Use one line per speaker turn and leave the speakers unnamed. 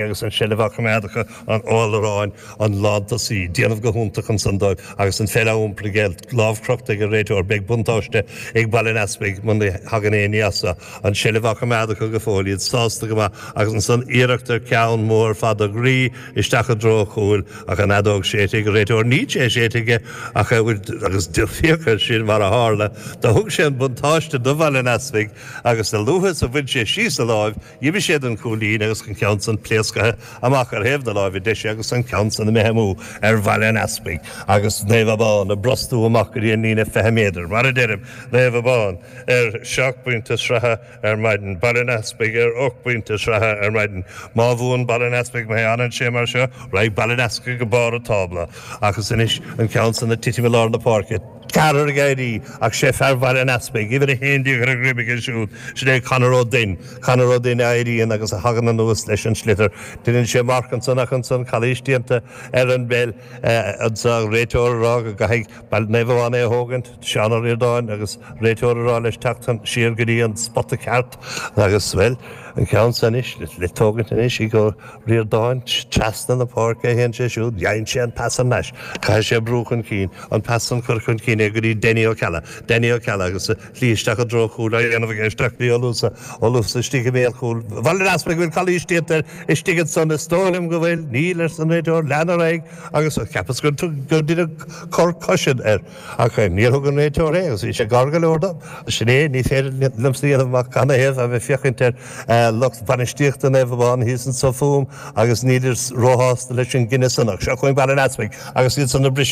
Agus an seilbh á coimeád acu an Odhráin, an lántosaí, déanamh go hiontach ansan dóibh agus an pheil á iompar aige, lámh crochta ag an réiteoir. Beidh buntáiste ag Baile an Easpaig muna thagann aon ní as seo. An seilbh á coimeád acu go fóill, iad sásta go maith agus ansan iarracht ar ceann mór fada groí isteach i dtreo an chúil ach an fheadóg séidte ag an réiteoir. Níl sé séidte aige ach agus féach air sin mar a tharla. Do thug sé an buntáiste do Bhaile an Easpaig agus a luaithe is a bhain sé síos a láimh, D'imigh sé don chúilín agus an ceann san pléascaithe amach ar thaobh na láimhe deise agus an ceann san imithe amú ar Bhaile an Easpaig agus Naomh Abán ag brostú amach go dtí an líne 20 méadar. Mar a deirim, Naomh Abán ar sheacht bpointe sraithe ar maidin, Baile an Easpaig ar ocht bpointe sraithe ar maidin. Má bhuann Baile an Easpaig, má fhanann sé mar seo, raghaidh Baile an Easpaig go barr an tábla. Agus anois an ceann san ag titim i lár na páirce. Ceathrar ag éirí ach sé fear Bhaile an Easpaig, uimhir 11 ar a dhroim aige siúd, sin é Conor Ó Duinn. Conor Ó Duinn a éiríonn agus a thagann anuas leis an sliotar. Deineann sé marc ansan ach ansan calaois déanta ar an bpeil anso. An réiteoir ag rá go gcaithfidh Naomh Abán é a thógaint, Seán Ó Ríordáin agus réiteoir ag rá leis teacht siar go dtí an spota ceart agus, bhuel, an ceann san anois le tógaint anois ag Ó Ríordáin trasna na páirce a théann sé siúd, gheibheann sé an pas thar n-ais, caithfidh sé brú chun cinn, an pas san curtha chun cinn aige go dtí Danny Ó Ceallaigh, Danny Ó Ceallaigh agus slí isteach i dtreo chúil á dhéanamh aige isteach go dtí Ó Luasa, Ó Luasa istigh i mbéal chúil Bhaile an Easpaig, bhfuil calaois déanta air istigh ansan, is dóigh liom go bhfuil, níl arsa an réiteoir, lean ar aghaidh agus cheapas gur deineadh cor coise air. Ach níor thug an réiteoir é agus bhí sé gar go leor dom. Sin é, ní féidir liomsa a dhéanamh amach canathaobh a bheith féachaint ar lucht bainistíochta Naomh Abán thíos anso fúm agus nílid róshásta leis an gcinneadh san. Ach seo chugainn Baile an Easpaig agus iad san ag briseadh.